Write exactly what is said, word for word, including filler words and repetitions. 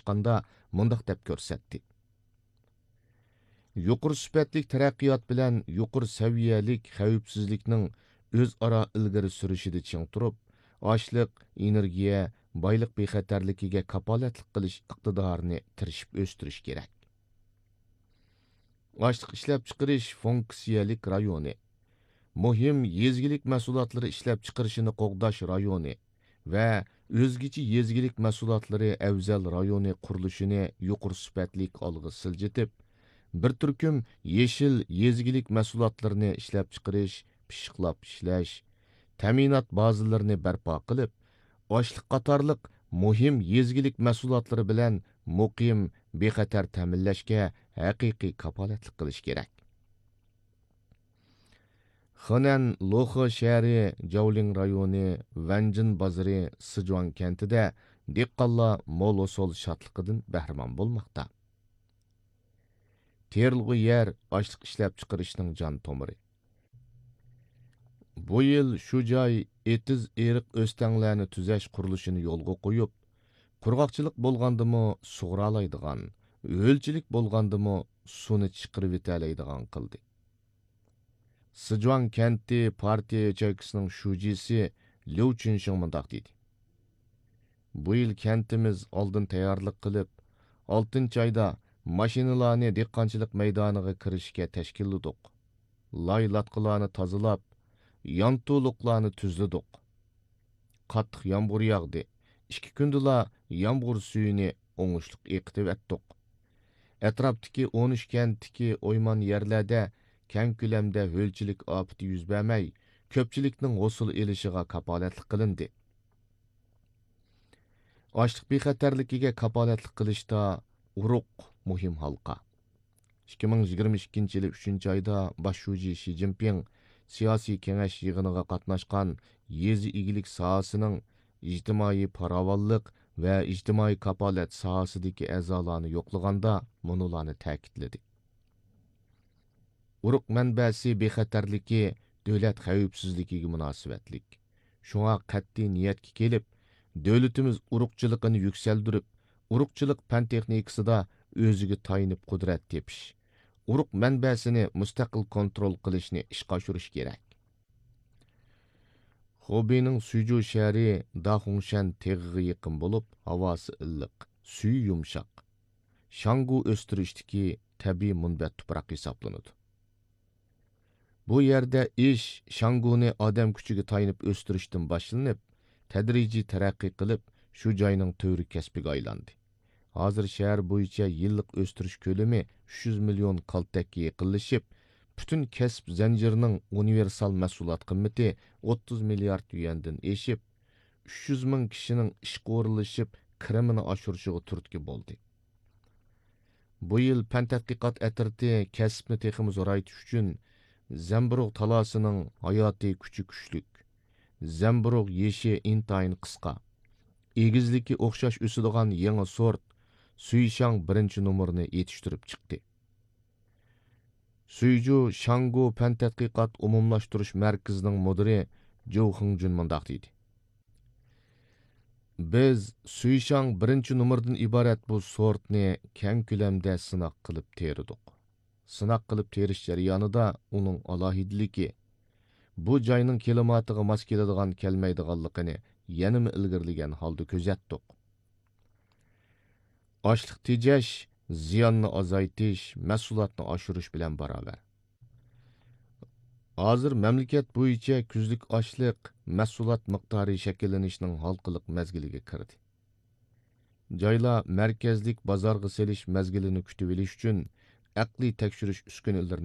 چىققاندا مۇنداق دەپ كۆرسەتتى: يۇقىرى سۈپەتلىك تەرەققىيات بىلەن يۇقىرى سەۋىيەلىك خەۋپسىزلىكنىڭ ئۆزئارا ئىلگىرى سۈرۈشىدە چىڭ تۇرۇپ، ئاشلىق، ئېنېرگىيە، بايلىق بىخەتەرلىكىگە كاپالەتلىك قىلىش ئىقتىدارىنى تىرىشىپ ئۆستۈرۈش كېرەك. ئاشلىق ئىشلەپچىقىرىش فۇنكسىيەلىك رايونى، مۇھىم يېزا ئىگىلىك مەھسۇلاتلىرى ئىشلەپچىقىرىشىنى قوغداش رايونى ۋە ئۆزگىچە يېزا ئىگىلىك مەھسۇلاتلىرى ئەۋزەل رايونى قۇرۇلۇشىنى يۇقىرى سۈپەتلىك ئالغا سىلجىتىپ، بىر تۈركۈم يېشىل يېزا ئىگىلىك مەھسۇلاتلىرىنى ئىشلەپچىقىرىش، پىششىقلاپ ئىشلەش، تەمىنات بازىلىرىنى بەرپا قىلىپ، ئاشلىق قاتارلىق مۇھىم يېزا ئىگىلىك مەھسۇلاتلىرى بىلەن مۇقىم، بىخەتەر تەمىنلەشكە ھەقىقىي كاپالەتلىك قىلىش كېرەك. خېنەن لوخې شەھىرى، جاۋلىڭ رايونى، ۋەنجىن بازىرى، سىجۇاڭ كەنتىدە دېھقانلار مول ھوسۇل شادلىقىدىن بەھرىمەن بولماقتا. تېرىلغۇ يەر ئاشلىق ئىشلەپچىقىرىشنىڭ جان تومۇرى. بۇ يىل شۇ جاي ئېتىز-ئېرىق ئۆستەڭلەرنى تۈزەش قۇرۇلۇشىنى يولغا قويۇپ، قۇرغاقچىلىق بولغاندىمۇ سۇغۇرالايدىغان، ھۆلچىلىك بولغاندىمۇ سۇنى چىقىرىۋېتەلەيدىغان قىلدى. سىجۇاڭ كەنتى پارتىيە ياچېيكىسىنىڭ شۇجىسى ليۇ چۈنشىڭ مۇنداق دېدى: بۇ يىل كەنتىمىز ئالدىن تەييارلىق قىلىپ، ئالتىنچى ئايدا ماشىنىلارنى دېھقانچىلىق مەيدانىغا كىرىشكە تەشكىللىدۇق. لاي لاتقىلارنى تازىلاپ، يانتۇلۇقلارنى تۈزلىدۇق. قاتتىق يامغۇر ياغدى. ئىككى كۈندىلا يامغۇر سۈيىنى ئوڭۇشلۇق ئېقىتىۋەتتۇق. ئەتراپتىكى ئون ئۈچ كەنتتىكى ئويمان يەرلەردە كەڭ كۆلەمدە ھۆلچىلىك ئاپىتى يۈز بەرمەي، كۆپچىلىكنىڭ ھوسۇل ئېلىشىغا كاپالەتلىك قىلىندى. ئاشلىق بىخەتەرلىكىگە كاپالەتلىك قىلىشتا ئۇرۇق مۇھىم ھالقا. ئىككى مىڭ يىگىرمە ئىككىنچى يىلى ئۈچىنچى ئايدا باش شۇجى شى جىنپىڭ سىياسىي كېڭەش يىغىنىغا قاتناشقان يېزا ئىگىلىك ساھەسىنىڭ ئىجتىمائىي پاراۋانلىق ۋە ئىجتىمائىي كاپالەت ساھەسىدىكى ئەزالارنى يوقلىغاندا مۇنۇلارنى تەكىتلىدى: ئۇرۇق مەنبەسى بىخەتەرلىكى دۆلەت خەۋپسىزلىكىگە مۇناسىۋەتلىك. شۇڭا قەتئىي نىيەتكە كېلىپ، دۆلىتىمىز ئۇرۇقچىلىقىنى يۈكسەلدۈرۈپ، ئۇرۇقچىلىق پەن تېخنىكىسىدا ئۆزىگە تايىنىپ قۇدرەت تېپىش، ئۇرۇق مەنبەسىنى مۇستەقىل كونترول قىلىشنى ئىشقا ئاشۇرۇش كېرەك. خۇبېينىڭ سۈيجۇ شەھىرى داخۇڭشەن تېغىغا يېقىن بولۇپ، ھاۋاسى ئىللىق، سۈيى يۇمشاق. شاڭگۇ ئۆستۈرۈشتىكى تەبىئىي مۇنبەت تۇپراق ھېسابلىنىدۇ. بۇ يەردە ئىش شاڭگۇنى ئادەم كۈچىگە تايىنىپ ئۆستۈرۈشتىن باشلىنىپ، تەدرىجىي تەرەققىي قىلىپ، شۇ جاينىڭ تۈۋرۈك كەسپىگە ئايلاندى. ھازىر شەھەر بويىچە يىللىق ئۆستۈرۈش كۆلىمى ئۈچ يۈز مىليون كالتەككە يېقىنلىشىپ، پۈتۈن كەسىپ زەنجىرىنىڭ ئۇنىۋېرسال مەھسۇلات قىممىتى ئوتتۇز مىليارد يۈەندىن ئېشىپ، ئۈچ يۈز مىڭ كىشىنىڭ ئىشقا ئورۇنلىشىپ، كىرىمىنى ئاشۇرۇشىغا تۈرتكە بولدى. بۇ يىل پەن تەتقىقات ئەترىتى كەسىپنى تېخىمۇ زورايتىش ئۈچۈن، زەمبۇرۇغ تالاسىنىڭ ھاياتىي كۈچى كۈچلۈك، زەمبۇرۇغ يېشى ئىنتايىن قىسقا، ئېگىزلىكى ئوخشاش ئۆسىدىغان يېڭى سورت سۈيشاڭ بىرىنچى نومۇرىنى يېتىشتۈرۈپ چىقتى. سۈيجۇ شاڭگۇ پەن تەتقىقات ئومۇملاشتۇرۇش مەركىزىنىڭ مۇدىرى جوۋ خېڭجۈن مۇنداق دېدى: بىز سۈيشاڭ بىرىنچى نومۇردىن ئىبارەت بۇ سورتنى كەڭ كۆلەمدە سىناق قىلىپ تېرىدۇق. سىناق قىلىپ تېرىش جەريانىدا ئۇنىڭ ئالاھىدىلىكى، بۇ جاينىڭ كىلىماتىغا ماس كېلىدىغان كەلمەيدىغانلىقىنى يەنىمۇ ئىلگىرىلىگەن ھالدا كۆزەتتۇق. ئاشلىق تېجەش زىياننى ئازايتىش، مەھسۇلاتنى ئاشۇرۇش بىلەن باراۋەر. ھازىر مەملىكەت بويىچە كۈزلۈك ئاشلىق مەھسۇلات مىقدارى شەكىللىنىشنىڭ ھالقىلىق مەزگىلىگە كىردى. جايلار مەركەزلىك بازارغا سېلىش مەزگىلىنى كۈتۈۋېلىش ئۈچۈن ئەقلىي تەكشۈرۈش ئۈسكۈنىلىرىنى